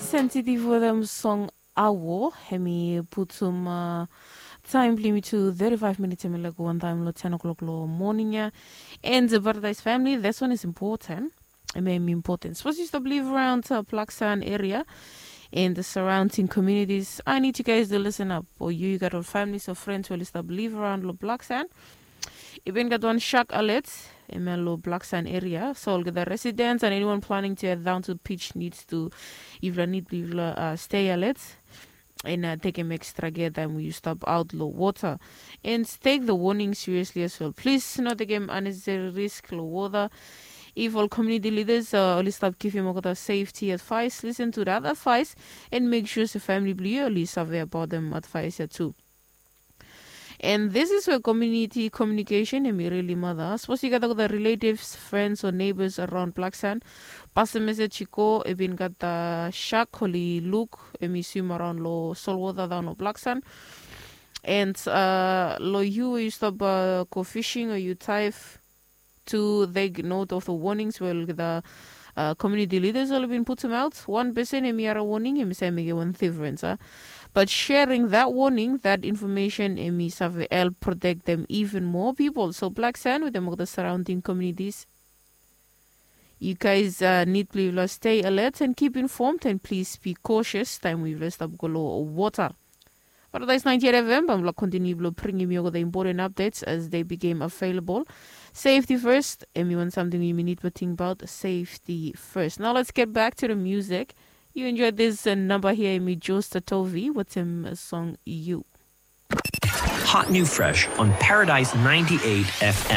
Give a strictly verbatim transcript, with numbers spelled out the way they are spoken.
Sensitive wetem song awo, hemi putum taem blong yumi tu thirty-five minutes, hemi laik wantaem long ten o'clock long moning ia. And Paradise family, this one is important. Hemi important. Sapos yu stap live around Black Sand area and the surrounding communities, I need you guys to listen up. O yu, yu gat ol families o friends we oli stap live around long Black Sand, i bin gat wan shark alert hemia long Black Sand area. So olgeta residents and anyone planning to head down to beach needs to, yufala nid blong yufala stay alert and tekem extra care taem we yu stap aot long wota. And take the warning seriously as well. Plis no tekem unnecessary risk long wota. If ol community leaders oli stap givim olgeta safety advice, listen to that advice and make sure se family blong yu oli save abaot dem advice ia tu. And this is where community communication hemi really mata. Sapos yu gat olgeta relatives, friends o neighbors around Black Sand, pasem message i go, i bin gat shark oli luk hemi swim around long solwota daon long Black Sand. And long yu we yu stap go fishing o yu dive, to take note of the warnings we olgeta community leaders oli bin putum aot. Wan pesen hemi harem warning, hemi save mekem wan difrens a. But sharing that warning, that information, hemi save help protect them even more people. So Black Sand wetem olgeta surrounding communities, you guys nid blong yufala stay alert and keep informed and please be cautious taem we yufala stap go long wota. Paradise ninety-eight F M, bae mifala kontiniu blong bringim yu olgeta important updates as they became available. Safety first, hemi wan samting yumi nid blong tingbaot, safety first. Now let's get back to the music. You enjoyed this namba hia, hemi Josta Tovi wetem song You. Hot new fresh on Paradise ninety-eight F M.